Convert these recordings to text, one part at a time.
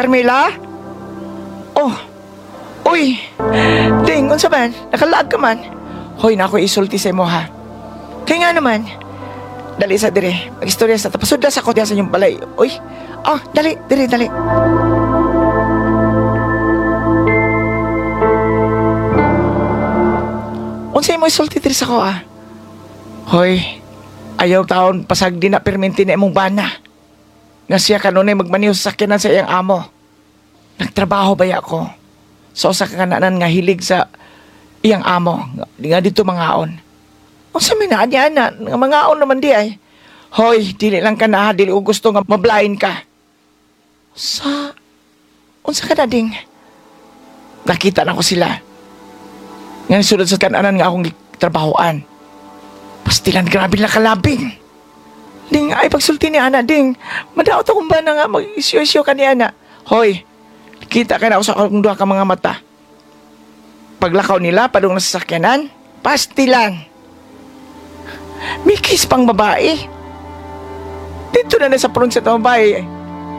Carmela? Oh. Uy. Ding, unsa man? Nakalaag ka man. Hoy, na ako isulti sa imo ha. Kay nga naman. Dali sa dire. Magistorya sa tapasudla sa ko diha sa inyong balay. Uy. Oh, dali, dire, dali. Unsa imo isulti diri sa ko ah? Hoy, ayaw taon pasag di na perminti na imong bana. Nga siya kanunay magmaniho sa sakyanan sa iyang amo. Nagtrabaho ba ako? So sa kananan nga hilig sa iyang amo. Nga dito mangaon. Unsa may naa niya na nga mangaon naman di ay. Hoy, dili lang ka na ha, dili ko gusto nga mablind ka. Sa unsa ka na ding? Nakita na ko sila. Nga sulod sa kananan nga akong trabahoan. Pastilan, grabe lang kalabing. Ding, ay pagsulti ni Ana, ding. Madaot akong ba na nga mag-isyo-isyo ka ni Ana. Hoy, kita ka na ako sa akong duha ka mga mata. Paglakaw nila, padung na sasakyanan, pastilan. May kiss pang babae. Dito na na sa front sa babae.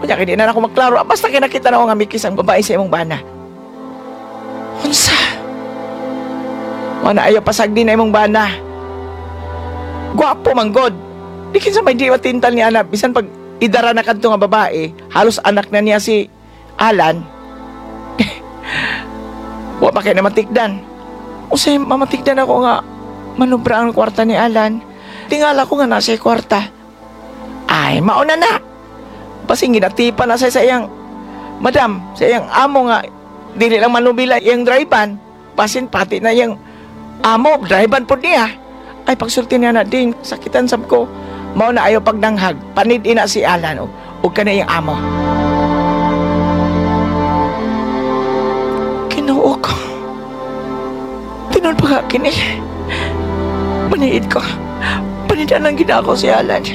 Kunya, hindi na ako maklaro. Ah, basta kinakita na ako nga may kiss ang babae sa imong bana. Unsa? Wala ayaw pasag din na imong bana. Gwapo man god. Di kinsa may di matintal ni Ana. Bisan pag idara na kadto nga babae, halos anak na niya si Alan. Wa pa kay na matikdan. Usay mamatikdan ako nga manubra ang kwarta ni Alan. Tingala ko nga nasa kwarta. Ay, mauna na. Basing ginatipa na sa iyang madam, sa iyang amo nga dili lang manubila iyang drive-an. Basin pati na iyang amo, drive-an po niya. Ay, pagsulti niya na din, sakitan sab ko. Mao na ayaw pagdanghag, panid ina si Alan o ka na iyang amo. Kinuo ko. Tinuod pa ka kini. Maniid ko. Panidan ang ginako si Alan.